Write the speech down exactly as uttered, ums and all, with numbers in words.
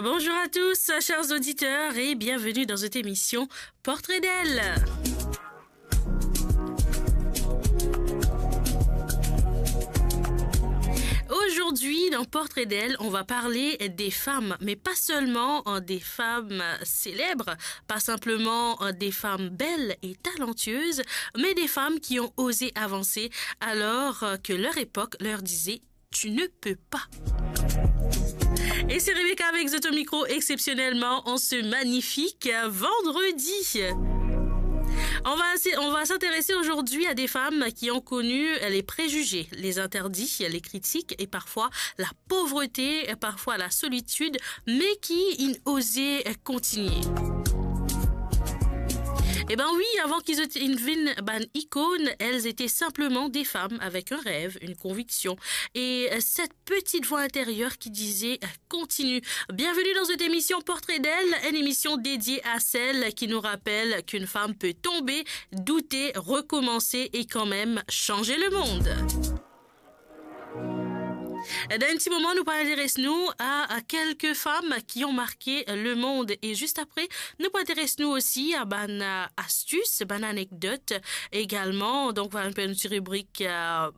Bonjour à tous, chers auditeurs, et bienvenue dans cette émission Portrait d'elle. Aujourd'hui, dans Portrait d'elle, on va parler des femmes, mais pas seulement, euh, des femmes célèbres, pas simplement, euh, des femmes belles et talentueuses, mais des femmes qui ont osé avancer alors, euh, que leur époque leur disait : « Tu ne peux pas. » Et c'est Rebecca avec Zoto Micro exceptionnellement en ce magnifique, euh, vendredi. On va, on va s'intéresser aujourd'hui à des femmes qui ont connu les préjugés, les interdits, les critiques et parfois la pauvreté, parfois la solitude, mais qui ont osé continuer. Eh ben oui, avant qu'ils étaient une vin ban icône, elles étaient simplement des femmes avec un rêve, une conviction et, euh, cette petite voix intérieure qui disait, euh, « Continue. » Bienvenue dans cette émission Portrait d'elle, une émission dédiée à celles qui nous rappellent qu'une femme peut tomber, douter, recommencer et quand même changer le monde. Dan enn ti moman, nou pou interes nou a, a quelques femmes qui ont marqué le monde. Et juste après, nou pou interes nou osi a bann, euh, astuces, bann anecdotes également. Donc, voilà, nou ti ribrik, euh,